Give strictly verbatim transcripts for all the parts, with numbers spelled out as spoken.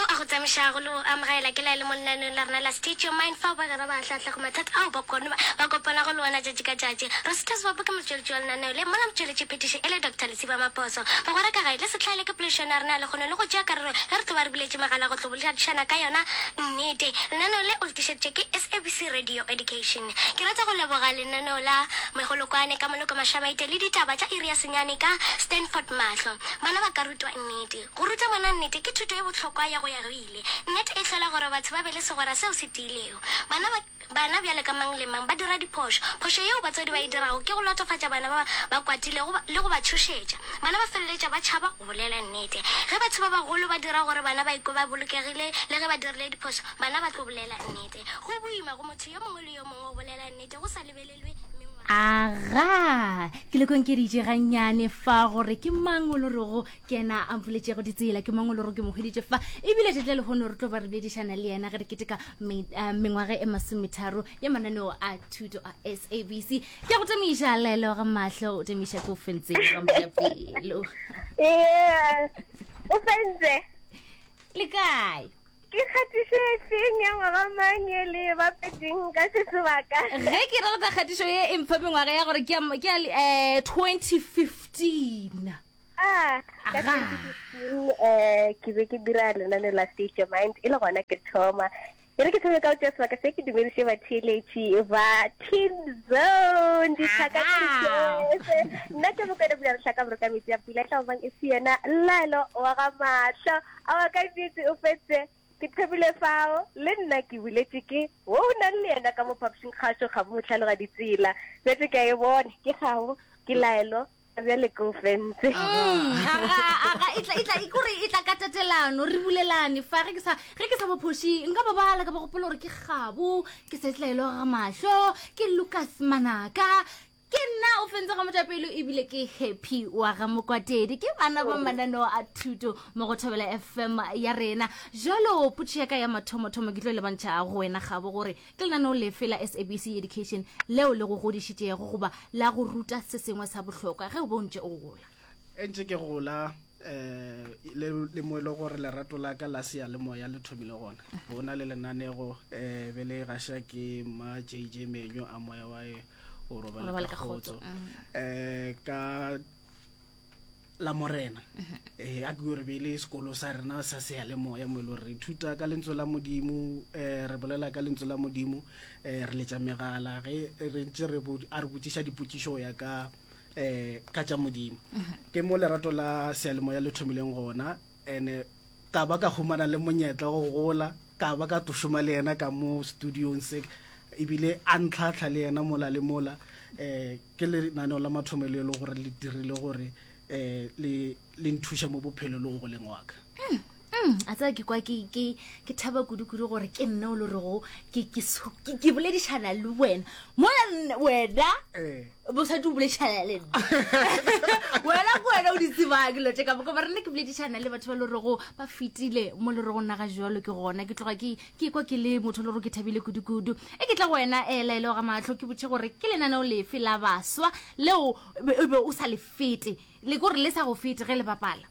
Yo a go tsamišago le go amogela ke la le mo lenaneong la rena la State Your Mind, fao bagwera ba ahlaahlago mathata ao ba kone ba kopanago le ona tšatši ka tšatši. Rosita Sebopo ke motšweletši wa lenaneo le, mola motšweletši phetiši e le Doctor Lesiba Maposo. Bagwera ka gae, le se hlaele ke poledišano ya rena ya lekgono le go tšea karolo ge re tlo ba re buletše megala go tlo boledišana ka yona nnete. Lenaneo le o le tlišeditšwe ke S A B C Radio Education. Ke rata go leboga lenaneo la Megolokwane ka Moloko Mašamaite le ditaba tša iri ya senyane ka Stanford Mahlo. Bana ba ka rutwa nnete. Go ruta ngwana nnete ke thuto e bohlokwa ya go ya go ile. Nnete e hlola gore batho ba be le segwera seo se tiilego. Bana ba bana bjale ka mang le mang ba dira diphošo. Phošo yeo batswadi ba e dirago ke go latofatša bana ba ba kwatilego le go ba tšhošetša. Bana ba feleletša ba tšhaba go bolela nnete. Ge batho ba bagolo ba dira gore bana ba ikwe ba bolokegile le ge ba dirile diphošo, bana ba tlo bolela nnete. Go boima go motho yo mongwe le yo mongwe go bolela nnete go sa lebelelwe mengwaga. Aga, ke le konkeditše gannyane fa gore ke mang o le rego ke yena a mpoletšego ditsela, ke mang o le rego ke mo hweditše fa, ebile tšatši la lehono re tlo ba re boledišana le yena ge re keteka me- eh, mengwaga e masometharo ya mananeo a thuto a S A B C. Ke a go tamiša, Laelo ga Mahlo, o tamiša ke o fentse ga mojapelo. Ee, o fentse. Le kae? Ke kgatišo e feng ya ngwaga mang e le bapetseng ka se sebaka? Ge ke rata kgatišo ye e mpha mengwaga ya gore ke ya ke ya eh twenty fifteen. Ah, ka Aga. twenty fifteen eh ke be ke dira lenane la State Your Mind, e le gona ke thoma. E re ke thome ka go tšea sebaka se ke dumediše batheeletši ba Teen Zone, ditlhaka tše di. Nna ke Mokone Bula Lehlaka Boroka metsi a pula tla bang e se yena Laelo wa ga Mahlo. Awa, ka nnete o fetse ke thomile fao le nna ke buletše ke wo o nang le yena ka mo phapošing kgašo ga bo motlhalo ga ditsela bjetse ke a e bone ke gao ke Laelo bjale ke o fentse. Aga, aga, e tla e tla e kore e tla ka tatelano, re bulelane fa ge ke sa ge ke sa bophoši nka ba bala ka ba gopola gore ke Gabo, ke Setlaelo ga Mahlo, ke Lucas Manaka, ke nna o fentse ga motapelo, ebile ke Happy wa ga Mokwatedi. Ke bana ba mananeo a thuto mo go Thobela F M ya rena. Jalo potšo ya ka ya mathomothomo ke tlo lebantšha go wena Gabo, gore ke lenaneo lefe la S A B C Education leo le go godišitšego goba la go ruta se sengwe sa bohlokwa ge o bo ntše o gola? E ntse ke gola um le le mo e le gore lerato la ka la seyalemoya le thomile gona, go na le lenanego um be le gaša ke ma J J Menyo, a moya wa e o robale robale ka ka kgotso. Kgotso um ka la Morena eh a ke gore be le sekolo sa rena sa seyalemoya mo e le gore re ithuta ka lentswe la Modimo, um re bolela ka lentswe la Modimo, um re letša megala ge re ntse re bo- a re botšiša dipotšišo go ya ka um ka tša Modimo. Ke mo lerato la seyalemoya le thomileng gona, and ka ba ka humana le monyetla wa go gola, ka ba ka tlo šoma le yena ka mo studiong se, ebile a ntlhatlha le yena mola le mola. um ke lenaneo la mathomo le e le gore le dirile gore um le le nthuša mo bophelo le go goleng wa ka. Mm, a tseba ke kwa ke ke ke thaba kudu-kudu gore ke nna o le rego ke ke so- ke ke boledišana le wena mola nna- wena Eh. bosadi o boledišana le nna, wena ke wena o di tsebang dilo tše ka moka, ba rena ke boledišana le batho ba le rego ba fetile mo le rego nna ga jalo ke gona ke tloga ke ke kwa ke le motho le gore ke thabile kudu-kudu. E ke tla go wena um Laelo ga Matlho, ke botše gore ke lenaneo lefe la baswa leo be o be o sa le fete, le kore le sa go fete ge le bapala?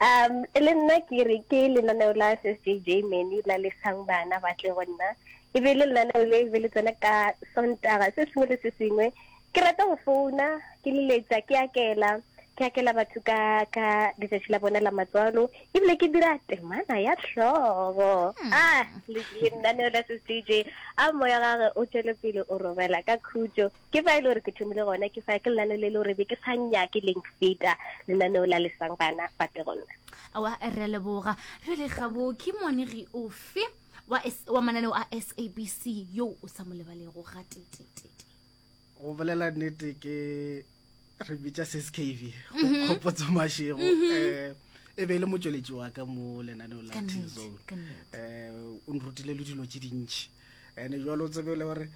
um le nna ke re ke lenaneo la S S J J Menu la Lesang Bana Ba Tle Go Nna. E be le lenaneo le be le tsena ka Sontaga se sengwe le se sengwe. Ke rata go founa ke leletša ke akela ke akela batho ka ka letšatši la bona la matswalo, ebile ke dira temana ya hlogo. Ah, le- lenaneo la S S J J, a moya gage o tšwele pele o robela ka khutšo. Ke fa e le gore ke thomile gona, ke fa ke lenaneo le le gore be ke sa nyake leng feta, lenaneo la Lesang Bana Ba Tle Go Nna. Awa, re a leboga. Jale Gabo, ke moanegi ofe wa, S- wa mananeo a S A B C yo o sa mo lebalego ga tetetete? Go bolela nnete, ke re bitša S S K V Kgopotso Mašego, um e be e le motšweletši wa ka mo lenaneo la Ka Teen nnete, Zone. Ka nnete. um o nrutile le dilo tše dintšhi, and jalo o tsebe le gore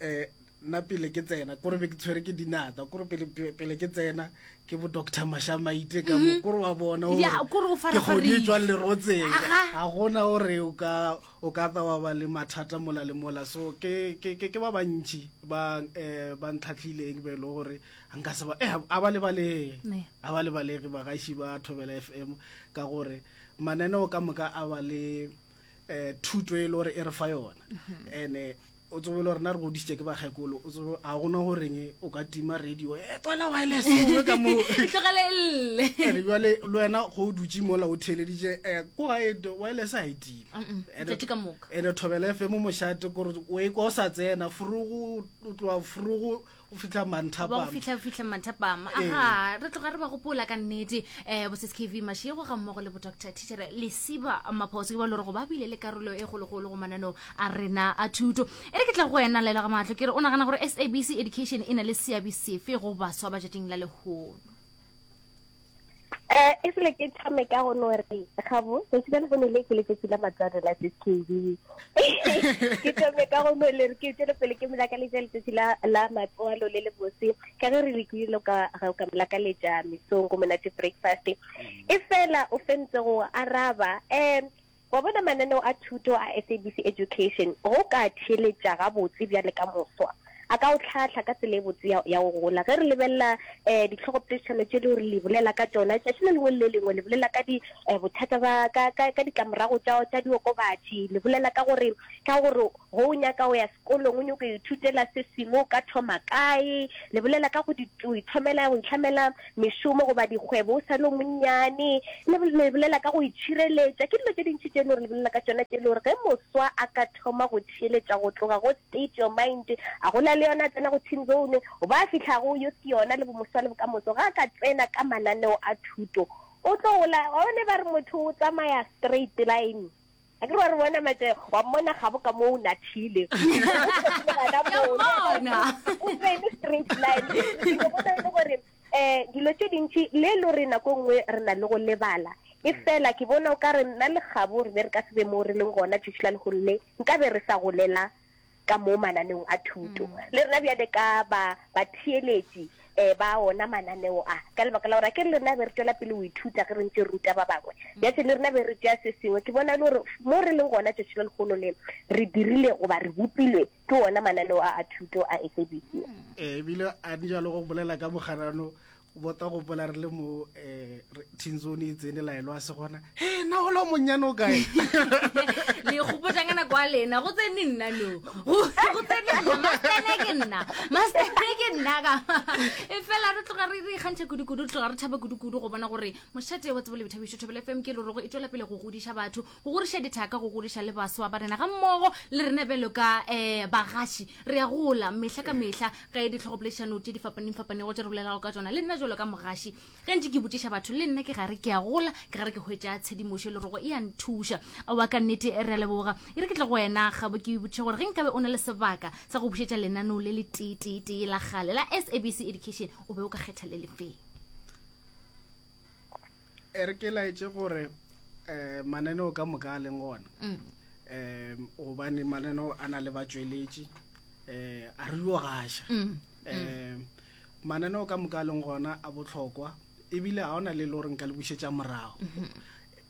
um nna pele ke tsena kore be ke tshwere ke dinata kore pele pele ke tsena ke bo doctor Mashamaite ka mo kore wa bona Mm-hmm. Ya, kore o ke kgodi e farafarile. tswang lerotseng Aga. ga gona gore o ka o ka tla wa ba le mathata mola le mola so ke ke ke ke ba bantši ba eh ba ntlhatlhileng be e le gore nka se ba eh a ba lebalege Ne. a ba lebalege bagaši ba Thobela F M ka gore mananeo ka moka a ba le eh thuto e le gore e re fa yona ene o tsebe le rena re godisitse ke bakgekolo o tsebe a gona goreng o ka tima radio e tswela wireless o ka mo E tlogele e lle ene jwale le wena go o dutse mola o theeleditše um ko gae wireless ga e time Mm-mm, tšatši ka moka. ene Thobela F M mošate kore o e kwa o sa tsena forogo o tloa forogo o fitlha ba go manthapama fitlha fitlha mathapama Ee. aga re tloga re ba gopola ka nnete um bo k v mashego ga mmogo le bo doctor teachere Lesiba Maphoso ke ba le gore go ba bile le karolo e kgologolo go mananeo a rena a thuto e re ke tla go wena laela ga matlho ke re o nagana gore S A B C education e na le seabe sefe go baswa ba tšatšing la lehono um e sele ke thome ka go no re gabo tsatsi la lehono le ke letsatsi la matswalo la S K B ke thome ka go no le re ke tswele pele ke molakaletša letsatsi la la matswalo le le bose ka ge re lekile ka ga ka molakaletša mesong go monate breakfast e fela o fentse go araba um wa bona mananeo a thuto a S A B C education go ka theeletša gabotse bjale ka moswa a ka o tlhatlha ka tsela e botse ya ya go gola ge re lebelela um ditlhogopoledišano tše le gore le bolela ka tšona tšatši le lengwe le le lengwe le bolela ka di um bothata ba ka ka ka ditlamorago tša tša diokobatši le bolela ka gore ka gore go o nyaka go ya sekolong o nyako ithutela se sengwe o ka thoma kae le bolela ka go di go ithomela go itlhamela mešomo goba dikgwebo o sa le o monnyane le le bolela ka go itšhireletša ke dilo tše dintši tše e le gore le bolela ka tšona tše e le gore ge moswa a ka thoma go theeletša go tloga go state your mind a gola le yona a tsena go teen zone o ba fihla go youth ke yona le bomoswa le bokamoso ga a ka tsena ka mananeo a thuto o tlo gola wa bone ba re motho o tsamaya straight line a ke re wa re bona matse wa mmona gabo ka mo o nathile Ke a mmona. o tsene straight line ke bona e le gore um dilo tše dintši le e le gore nako e nngwe re na le go lebala e fela ke bona o ka re nna le gabo re be re ka se be mo re leng gona tšatši la lehono le nka be re sa golela ka mo mananeong a thuto le rena bjale ka ba batheeletši um ba ona mananeo a ka lebaka la gore a ke re le rena be re tswela pele go ithuta ge re ntse re ruta ba bangwe bjatse le rena be re tšea se sengwe ke bona e le gore mo re leng gona tšatši la lehono le re dirile goba re bopilwe ke ona mananeo a a thuto a S A B C Eh, ebile a di jalo go bolela ka bogarano bota gopola re le mo um teen zone e tsene laelo a se gona he na ola o monnyane o kae le gopotsa ka nako a lena go tsene nna no go go tsene nna mastene ke nna mastene ke nna ka e fela re tloga re re ikgantšha kudu-kudu re tloga re thaba kudu-kudu go bona gore mošate wa tsebo le boithabišo Thobela F M ke le rego e tswela pele go godiša batho go godiša dithaka go godiša le baswa ba rena ga mmogo le rena bjalo ka um bagaši re ya gola mehla ka mehla ge ditlhogopoledišano tše di fapaneng fapanego tše re bolelago ka tsona le nna jalo ka mogaši ge ntse ke botšiša batho le nna ke gare ke a gola ke gare ke hwetša tshedimošo le rogo e a nthuša aowa ka nnete re a leboga e re ke tle go wena gabo ke botšiše gore ge nkabe o na le sebaka sa go bušetša lenaneo le le teetee la kgale la S A B C education o be o ka kgetha le lefeng e re ke laetše gore um mananeo ka moka a leng gona um gobane mananeo a na le batšweletši um a re yo gaša um mananeo ka moka a leng gona a bohlokwa ebile ga ona le le gore nka le bušetša morago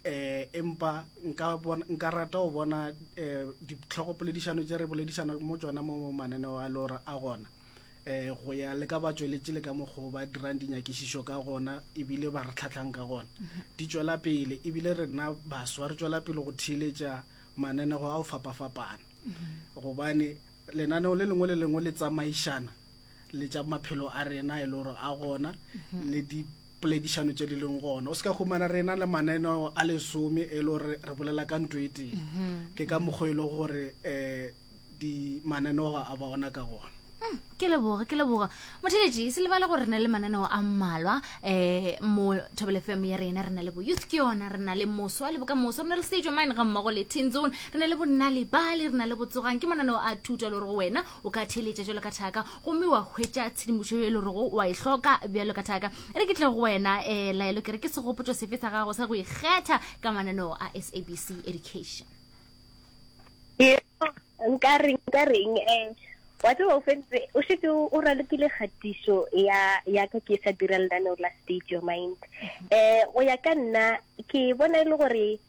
eh empa nka bona nka rata go bona eh ditlhogopoledišano tše re boledišana mo tsona mo mananeo a le gore a gona eh go ya le ka batšweletši le ka mokgwa o ba dirang dinyakišišo ka gona ebile ba re tlhatlhang ka gona di tšwela pele ebile rena baswa re tšwela pele go theeletša mananeo a go fapafapana gobane lenaneo le lengwe le lengwe le tsamaišana le tša maphelo a rena e le gore a gona le dipoledišano tše di leng gona o se ka humana rena le mananeo a lesome e le gore re bolela ka ntho e tee ke ka mokgwa e le gore um di mananeo a ba gona ka gona ke leboga ke leboga motheletši se lebale gore re na le mananeo a mmalwa um mo Thobela F M ya rena re na le bo youth ke yona re na le moswa le bokamoso re na le stage mine ga mmogo le teen zone re na le bonna lebale re na le botsogang ke mananeo a thuto le gore go wena o ka theeletša jalo ka thaka gomme wa hwetša tshedimošo e le gorego wa e hloka bjalo ka thaka e re ke tle go wena um laelo ke re ke segopotšo sefe sa gago sa go ikgetha ka mananeo a S A B C education nka reng nka reng um Wa tseba o fentse o šetše o ralokile kgatišo ya ya ka ke sa dira lenaneo la State Your Mind. Eh go ya ka nna ke bona e le gore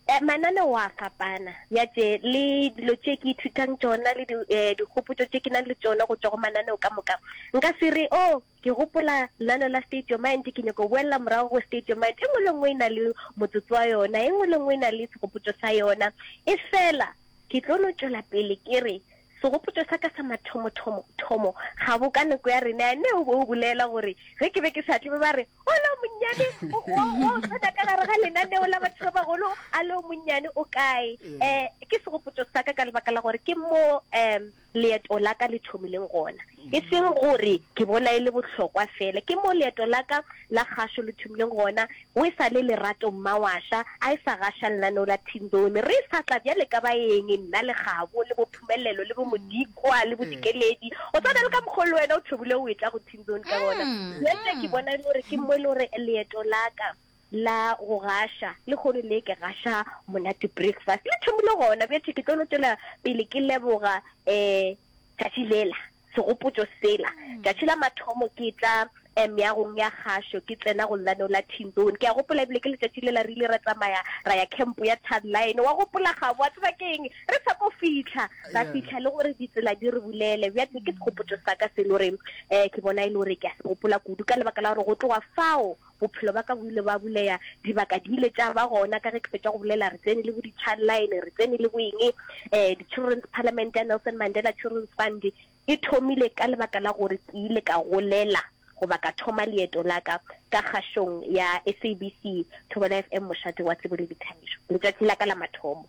eh, mananeo a fapana bjatše le dilo tše ke ithutang tšona le eh, dikgopotšo tše ke nang le tšona go tšwa go mananeo ka moka. Nka se re oh ke gopola lenaneo la State Your Mind ke nyako boela morago go State Your Mind. E nngwe le nngwe e na le motsotso wa yona, e nngwe le nngwe e na le segopotšo sa yona. E fela ke tlo no tšwela pele ke re segopotšo sa ka sa mathomothomo thomo ga bo ka nako ya rena ne o be o bolela gore ge ke be ke sa tle be ba re o le o monnyane o o tsena ka gare ga lenaneo la batho ba bagolo a le o monnyane o kae. Um ke segopotšo sa ka ka lebaka la gore ke mo um leeto la ka le thomileng gona, e seng gore ke bona e le bohlokwa fela, ke mo leeto la ka la kgašo le thomileng gona. O e sa le Lerato Mmawaša a e sa gaša lenaneo la Teen Zone, re sa tla bjale ka baeng nna le Kgabo le Bophumelelo le Bomodikwa le Bodikeledi, o tshwana le ka mokgwa le wena o thomile o etla go Teen Zone ka gona. Bjale ke bona e le gore ke mo e le gore leeto la ka la go gaša le kgono le ke gaša Monate Breakfast le thomile gona. Bjale ke tlo no tšwela pele ke leboga um tšatši lela segopotšo sela tšatši la mathomo ke tla meagong ya kgašo ke tsena go lenaneo la Teen Zone. Ke a gopola ebile ke letšatši lela re ile ra tsamaya ra ya camp ya Line wa gopola Gabo wa tseba ke eng re sa ko fitlha ra fitlha le gore ditsela di re bulele. Bjale ke segopotšo sa ka se le gore um ke bona e le gore ke a se gopola kudu ka lebaka la gore go tloga fao bophelo ba ka bo ile ba buleya, dibaka di ile tša ba gona ka ge ke fetša go bolela re tsene le bo di-Childline, re tsene le bo eng um di-Children's Parliament ya Nelson Mandela Children's Fund e thomile ka lebaka la gore ke ile ka golela goba ka thoma leeto la ka ka kgašong ya S A B C Thobela F M mošate wa tsebo le dithabišo letšatši la ka la mathomo.